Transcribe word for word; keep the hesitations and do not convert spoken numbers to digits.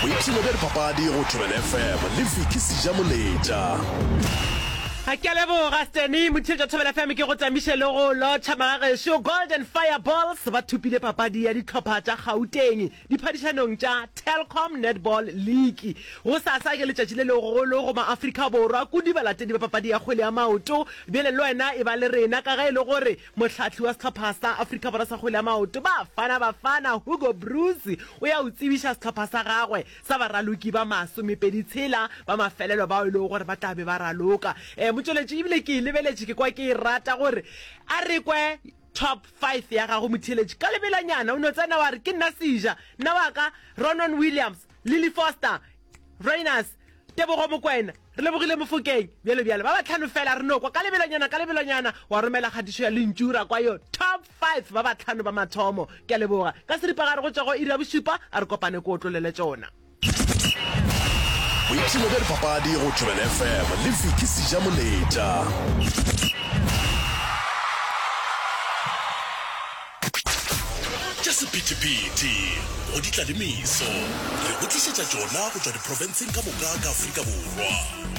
Boipshino bja dipapadi go Thobela F M le Vicky Sejamoletša. Ke a leboga Stanny Motheetša Thobela F M ke go tamiše le go lotšha magagešo. Golden Fireballs ba thopile papadi ya dihlopha tša Gauteng diphadišanong tša Telkom Netball League. Gosasa ke letšatši le legolo go maAfrika Borwa kudu balatedi ba papadi ya kgwele ya maoto. Bjale le wena e ba le rena ka ge e le gore mohlahli wa sehlopha sa Afrika Borwa sa kgwele ya maoto Bafana Bafana Hugo Broos o ya o tsebiša sehlopha sa gagwe sa baraloki ba masomepedi tshela ba mafelelo bao e lego gore ba tla be ba raloka. Um motšweletši ebile ke e lebeletše ke kwa ke e rata gore a re kwe top five ya gago motheeletši ka lebelanyana o no tsena wa re ke nna Seja nna wa ka Ronwen Williams Lily Foster Rayners Tebogo Mokoena re lebogile Mofokeng bjalo bjalo ba batlhano fela re no kwa ka lebelonyana ka lebelonyana wa romela kgatišo ya lentšu ra kwa yo top five ba batlhano ba mathomo. Ke a leboga ka seripagare go tšwa go iri ya bošupa a re kopane ko otlolele tšona. Boipshino bja dipapadi go Thobela F M le Vicky Sejamoletša. Tša sephethephethe go di tla le meso re go tlišetša tšona go tšwa diprofenseng ka moka ka Afrika Borwa.